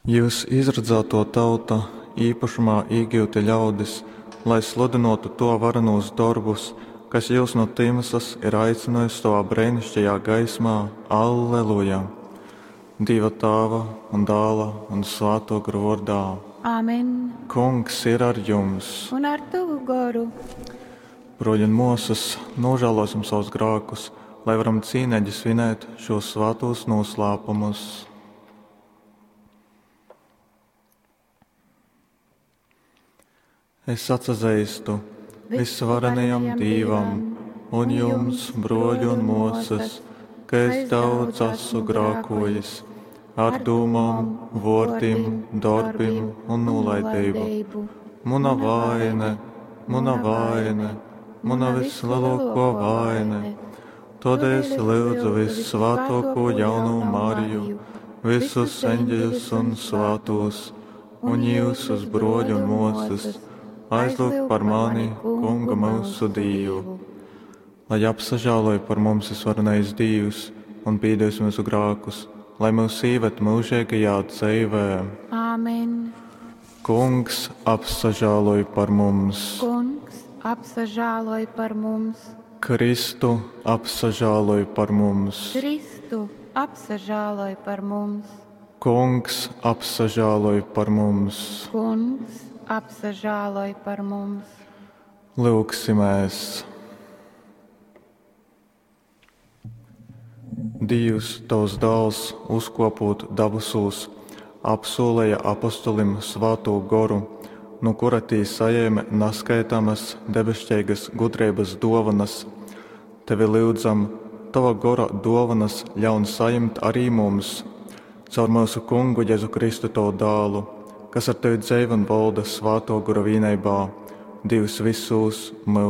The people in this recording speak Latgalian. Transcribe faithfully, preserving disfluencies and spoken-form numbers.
Jyus izradzātō tauta, īpašumā īgyuti ļaudis, lai sludynōtu tō varenūs dorbus, kas jyus nu tymsas ir aicynōjis sovā breiniškajā gaismā. Alleluja! Dīva Tāva un Dāla un Svātō Gora vōrdā. Amen. Kungs ir ar jums! Un ar tovu goru. Brōļi un mōsas, nožēlosim savus grākus, lai varam cīneigi svinēt šos svātos noslēpumus. Es atsazeistu visvarenajam Dīvam un jums, brōļi un mōsas, ka es daudz esmu grākojis ar dūmām, vōrdim, dorbim un nolaidību. Muna vaine, muna vaine, muna vislielākā vaine. Tādēļ es lūdzu vissvētāko jaunu Mariju, visus eņģeļus un svētos, un jūsus brōļu un māsas, aizlūgt par mani, Kungu mūsu Dievu. Lai apsažēloja par mums visvarenais Dievs un piedos mūsu grēkus, lai mūs ieved mūžīgajā dzīvē. Āmen. Kungs apsažēloj par mums. Kungs apsažēloj par mums. Kristu apsažēloj par mums. Kristu apsažēloj par mums. Kungs apsažēloj par mums. Kungs apsažēloj par mums. Lūgsimies! Dievs, tavs dēls, uzkopot dabasūs, apsolēja apostolim svātū goru, no kura tī saņēma neskaitāmas debesšķīgas gudrības dovanas. Tevi lūdzam, tava gora dovanas ļaun saņemt arī mums, caur mūsu kungu Jēzu Kristu tavu dēlu, kas ar tevi dzeiv un valda svāto gora vienībā, Dievs visos mūžos.